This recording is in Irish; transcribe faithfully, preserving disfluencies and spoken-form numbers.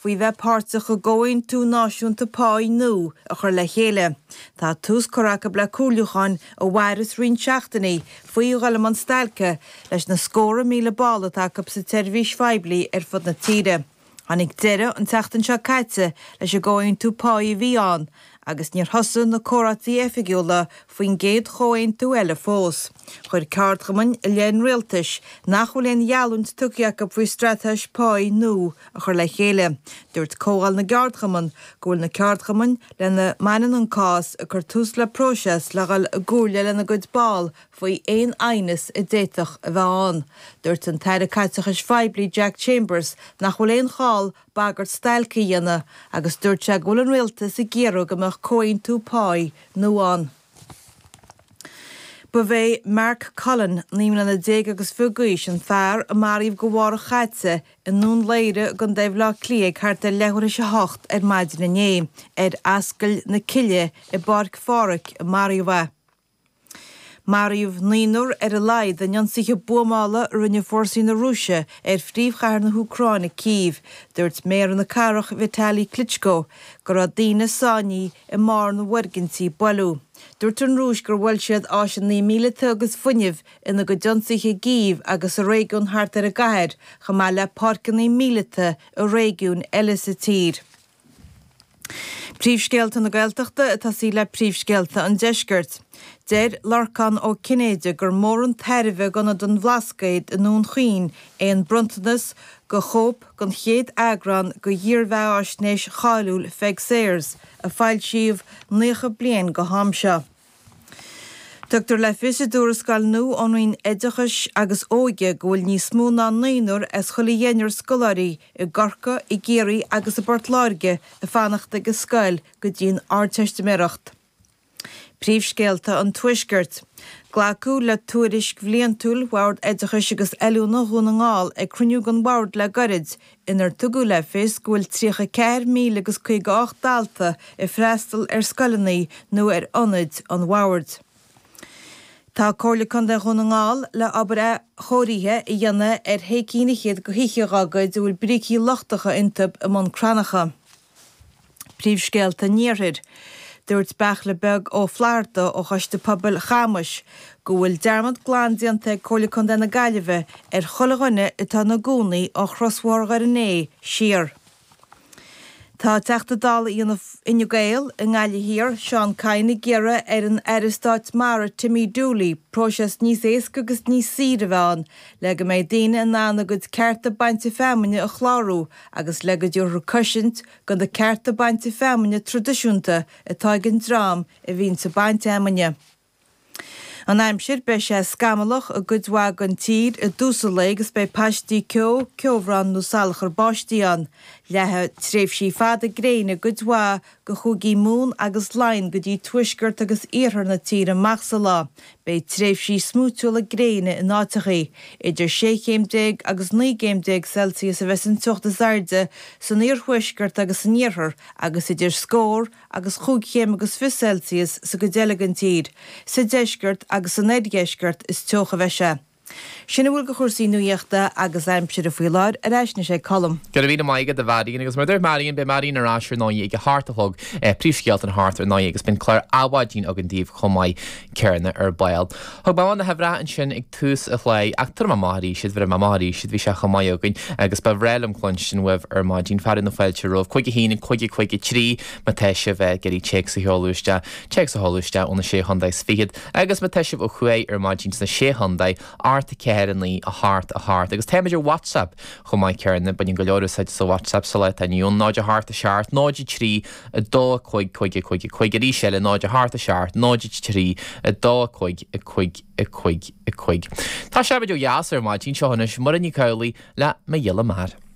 faoi bheith páirteach i gcomhaontú náisiúnta páí nua a chur le chéile. Tá tús curtha acu le comhairliúcháin a mhairfeas roinnt seachtainí faoi dhul i mbun stailce leis na scórtha míle ball atá acu sa tseirbhís phoiblí ar fud na tíre. Tháinig deireadh an tseachtain seo caite leis an gcomhaontú páí a bhí ann, agus níor thosaigh na comhráití oifigiúla faoin gcéad chomhaontú eile fós. Chuir ceardchumainn i leith an rialtais nach bhfuil aon gheallúint tugtha acu faoi straitéis páí nua a chur le chéile. Dúirt Comhdháil na gCeardchumann go bhfuil na ceardchumainn lena mbaineann an cás ag cur tús le próiseas le dhul i gcomhairle lena gcuid ball faoi aon aighneas a d'fhéadfadh a bheith ann. Dúirt an tAire Caiteachais Phoiblí Jack Chambers nach bhfuil aon chall bagairt stailce a dhéanamh agus dúirt sé go bhfuil an rialtas ag iarraidh go mbeadh comhaontú páí nua ann. Ba é Mark Cullen, naoi mbliana déag agus fiche d'aois, an fear a maraíodh go Mháirt chaite i nDún Laoghaire i gContae Bhaile Átha Cliath ag thart ar leathuair théis a hocht ar maidin inné. Ar Ascaill na Cille i bPáirc Phádraig a maraíodh é. Maraíodh naonúr ar a laghad in ionsaithe buamála a rinne fórsaí na Rúise ar phríomhchathair na hÚcráine, Cív. Dúirt méara na cathrach, Vitali Klitschko, go raibh daoine sáinnithe i mbarr na bhfoirgintí a buaileadh. Dúirt an Rúis gur bhuail siad áiseanna míleata agus fuinnimh ina gcuid ionsaithe i gCív agus sa réigiún thart ar an gcathair, chomh maith le páirceanna míleata i réigiúin eile sa tír. Príomhscéalta na Gaeltachta ag tosaí le príomhscéalta an Deiscirt. Deir Lorcán Ó Cinnéide gur mór an tairbhe d'Ionad an Bhlascaoid i nDún Chaoin é an bronntanas de chóip den chéad eagrán de dhírbheathaisnéis cháiliúil Pheig Sayers, a foilsíodh naocha bliain go ham seo. Tugtar le fios i dtuarascáil nua ón Roinn Oideachais agus Óige go bhfuil níos mó ná naonúr as chuile dheichniúr scoláirí i gCorcaigh, i gCiarraí agus i bPort Láirge ag fanacht ag an scoil go dtí an Ardteistiméireacht. Príomhscéalta an Tuaiscirt. Glacadh le tuairisc bhliantúil Bhord Oideachais agus Oiliúna Dhún na nGall ag cruinniú den Bhord le gairid, inar tugadh le fios go bhfuil tríocha ceathair míle agus caoga ocht dalta ag freastal ar scoileanna nó ar ionaid an Bhoird. Tá Comhairle Contae Dhún na nGall le obair athchóirithe a dhéanamh ar shé cinn fhichead de thithe dhá gcuid a bhfuil brící lochtacha iontu i mBun Cranncha. Príomhscéalta an Iarthair. Dúirt Beartla Beag Ó Flatharta ó Choiste Pobail Chamais go bhfuil dearmad glan déanta ag Comhairle Contae na Gaillimhe ar chuile dhuine atá ina gcónaí ó Chrosbhóthar Dhoire an Fhéich siar. Tá Teachta Dála Fhine Gael i nGaillimh Thiar, Seán Kyne ag iarraidh ar an Aire Stáit Mara Timmy Dooley próiseas níos éasca agus níos saoire a bheith ann le go mbeidh daoine in ann a gcuid cearta bainte feamainne a chlárú agus le go dtabharfar cosaint do na cearta bainte feamainne traidisiúnta atá ag an dream a bhíonns ag baint fheamainne. An aimsir, Beidh sé scamallach i gcuid mhaith den tír i dtús an lae agus beidh paistí ceo, ceobhrán nó salachar báistí ann. Leathfaidh tréimhsí fada gréine i gcuid mhaith de chúigí Mumhan agus Laighean go dtí tuaisceart agus iarthar na tíre amach sa lá. Beidh tréimhsí smúitiúla gréine in áiteachaí. Idir sé chéim déag agus naoi gcéim déag Celsius a bheas an teocht is airde san iarthuaisceart agus san iarthar agus idir scór agus chúig chéim agus fiche Celsius sa gcuid eile den tír. Sa deisceart agus san oirdheisceart is teocha a bheidh sé. Sin a bhfuil de chúrsaí nuachta agus aimsire faoi láthair, ar ais anois ag Colm. Go raibh míle maith agat a Mharion agus mar a dúirt Marion, beidh Marion ar ais ar ndóigh ag a hocht a chlog, príomhscéalta an hocht ar ndóigh agus beidh an clár Adhmhaidin againn daoibh chomh maith céanna ar ball. Thug mé na huimhreacha ansin ag tús an chláir ach tabharfaidh mé amach arís iad, bhéarfaidh mé amach arís iad, bhí sé chomh maith againn agus ba bhreá liom cluinstin uaibh ar maidin, fearadh na fáilte romhaibh, cúig a haon, cúig a cúig a trí, má tá sibh ag iarraidh téacs a sheoladh isteach, téacs a sheoladh isteach ó na Sé Chontae is Fichead agus má tá sibh ó thuaidh ar maidin sna Sé Chontae, ocht a ceathair a naoi a hocht a hocht agus táimid ar WhatsApp chomh maith céanna, baineann go leor úsáid as WhatsApp sa lá atá inniu ann, náid a hocht a seacht, náid a trí, a dó a cúig, cúig a cúig a cúig, arís eile náid a hocht a seacht, náid a trí, a dó a cúig, a cúig a cúig a cúig. Tá sé ó dheas ar maidin seo anois, Muireann Nic Amhlaoibh le Mo Ghiolla Mear.